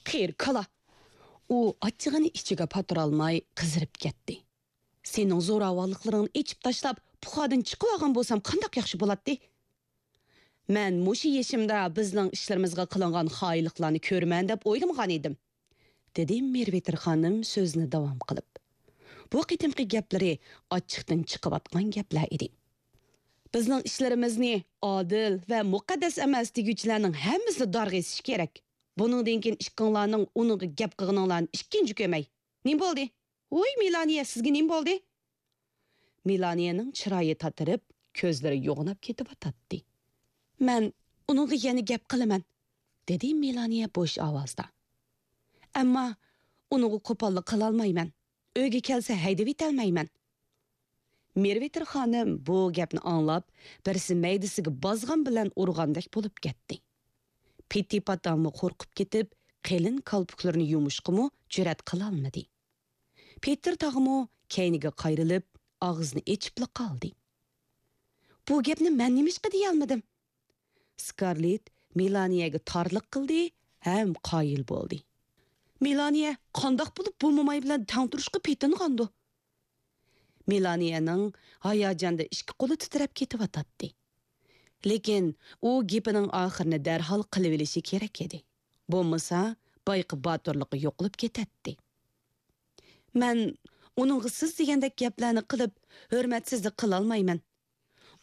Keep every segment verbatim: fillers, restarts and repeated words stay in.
قېرى كالا! ئۇ ئاچچىقىنى ئىچىگە پاتۇرالماي قىزىرىپ كەتتى. سېنىڭ زوراۋانلىقلىرىڭنى ئېچىپ تاشلاپ، پۇخادىن چىقىۋالغان بولسام قانداق ياخشى بولاتتى؟ مەن مۇشۇ يېشىمدا بىزنىڭ ئىشلىرىمىزغا قىلىنغان خائىنلىقلارنى كۆرىمەن دەپ ئويلىمىغان ئىدىم، دېدى مېرۋېتىر خانىم سۆزىنى داۋام قىلىپ. بۇ قېتىمقى گەپلىرى ئاچچىقتىن چىقىۋاتقان گەپلەر ئىدى. بىزنىڭ ئىشلىرىمىزنى ئادىل ۋە مۇقەددەس ئەمەس دېگۈچىلەرنىڭ ھەممىسىلا دارغا ئېسىشى كېرەك. بۇنىڭدىن كېيىن ئىككىڭلارنىڭ ئۇنىڭغا گەپ قىلغىنىڭلارنى ئىككىنچى كۆرمەي. نېمە بولدى؟ ۋوي، مېلانىيە، سىزگە نېمە بولدى؟ مېلانىيەنىڭ چىرايى تاتىرىپ، كۆزلىرى يوغىناپ كېتىۋاتاتتى. مەن ئۇنىڭغا يەنە گەپ قىلىمەن، دېدى مېلانىيە بوش ئاۋازدا. ئەمما ئۇنىڭغا قوپاللىق قىلالمايمەن. ئۆيگە كەلسە ھەيدىۋېتەلمەيمەن. مېرۋېتىر خانىم بۇ گەپنى ئاڭلاپ، بىرسى مەيدىسىگە بازغان بىلەن ئۇرغاندەك بولۇپ كەتتى. پېتى پاتاممۇ قورقۇپ كېتىپ، قېلىن كالپۇكلىرىنى يۇمۇشقىمۇ جۈرئەت قىلالمىدى. پېتىر تاغىمۇ كەينىگە قايرىلىپ، ئاغزىنى ئېچىپلا قالدى. بۇ گەپنى مەن نېمىشقا دېيەلمىدىم؟ سكارلېت مېلانىيەگە تارلىق قىلدى ھەم قايىل بولدى. مېلانىيە قانداق بولۇپ بۇ موماي بىلەن تەڭ تۇرۇشقا پېتىنغاندۇ؟ مېلانىيەنىڭ ھاياجاندا ئىككى قولى تىترەپ كېتىۋاتاتتى. لېكىن ئۇ گېپىنىڭ ئاخىرىنى دەرھال قىلىۋېلىشى كېرەك ئىدى. بولمىسا، بايىقى باتۇرلۇقى يوقىلىپ كېتەتتى. مەن ئۇنىڭغا سىز دېگەندەك گەپلەرنى قىلىپ، ھۆرمەتسىزلىك قىلالمايمەن.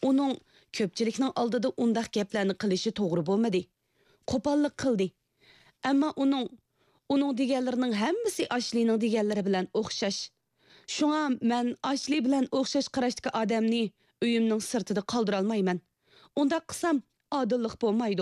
ئۇنىڭ كۆپچىلىكنىڭ ئالدىدا ئۇنداق گەپلەرنى قىلىشى توغرا بولمىدى. قوپاللىق قىلدى. ئەمما ئۇنىڭ، ئۇنىڭ دېگەنلىرىنىڭ ھەممىسى ئاشلىنىڭ دېگەنلىرى بىلەن ئوخشاش. شۇڭا مەن ئاشلى بىلەن ئوخشاش قاراشتىكى ئادەمنى ئۆيۈمنىڭ سىرتىدا قالدۇرالمايمەن. ئۇنداق قىلسام، ئادىللىق بولمايدۇ.